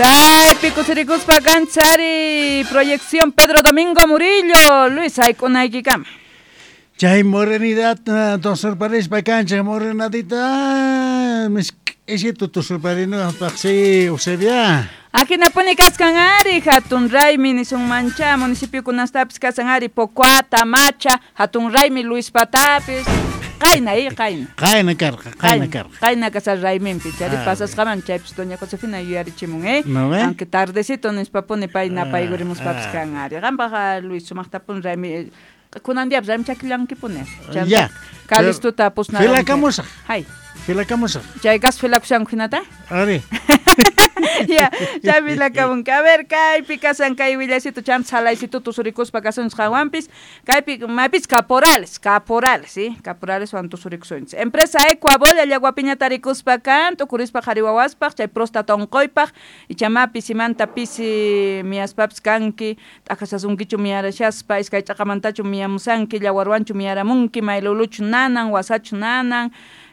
Chaypi kusirikuspa kanchari proyección Pedro Domingo Murillo Luis sayk'unaykikama. Chay morenidad tosurparispa kanchik morenadita misk'isitu tusurparinapaq si Eusebia. Ajinapuni kaskan ari hatun raymi nisunmancha municipiokunastapis kasan ari Pocoata, Macha, hatun raymi Luis Patapis qayna i qayna. Qayna karqa, qayna karqa. Qayna kasar rayminpi chari pasasqaman chaypis doña Josefina yuyarichimun, eh? ¿No ve? Aunque tardecito nispapuni pay napayurimuspapis kan ari. Qampaq Luis sumaqtapuni raymi kunan diapis raymi chakillankipuni. Ya. Calistuta pusnaranki. Filakamusaq. Hay. Filakamusaq. Chay gas filakushanku hinata? Ari. Ya, chay filakamunki. A ver, kaypi kasan kay willasito chanta salaycito tusurikuspa kasunchis qanwanpis. Kaypi mapis caporales, caporales, ¿sí? Caporales wan tusurikusunchis. Empresa Ecuabol llaguapiña tarikuspa kan, tukurispa qhari wawaspaq, chay próstata unquypaq, ichama pisimanta pisi miyaspapis kanki, t'aqasasunkichu miyarashaspa, iskay ch'aqamantachu miyamusanki, llawarwanchu miyaramunki, mayluluchu nanan, wasachu nanan,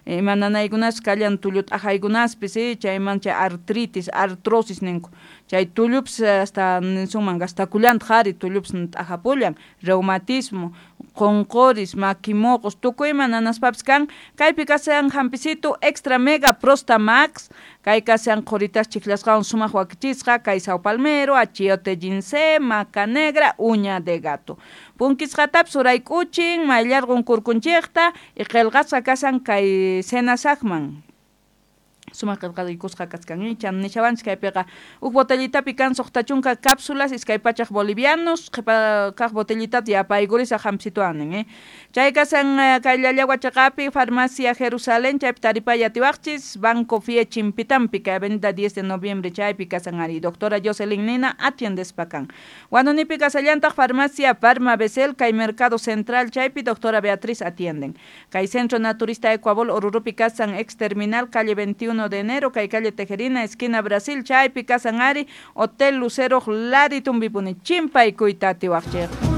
ima nanaykunas kallan tullu t'aqaykunaspis, ¿sí? Chayman chay artritis, artrosis ninku. Chay tullupis hasta nisunman gastakullantaq ari tullupis t'aqapullan, reumatismo, qonqoris, makimoqos, tukuyma nanaspapis kan. Kaypi kasan hampisitu extra mega prosta max, kay kasan qhuritas chiklasqawan sumaq wakichisqa, kay sao palmero, achiote ginseng, maca negra, uña de gato. Punkisqatapis urayk'uchin, mayllarqun kurkunchikta, y qillqasqa kasan kay senasaqman. Sumaq qillqaykusqa kachkan, chan nishawanchik kaypiqa huk botellitapi kan suqta chunka cápsulas iskay pachak bolivianos, qhipa kaq botellitata yapaykurisaq hampsituwan nin, Chay kasan kay Llallagua chaqapi farmacia Jerusalén chaypi taripay atiwaqchis Banco Fie Chimpitampi kay avenida 10 de noviembre chaypi kasan ari doctora Jocelyn Nina atiendespa kan. Wanunipi kasallantaq farmacia Farma Besel kay Mercado Central chaypi doctora Beatriz atienden. Kay Centro Naturista Ecuabol Orurupi kasan ex terminal calle 21 de enero, kay calle Tejerina, esquina Brasil, chaypi kasan ari, Hotel Lucero, Lari Tumbipuni, chimpaykuyta atiwaqchik.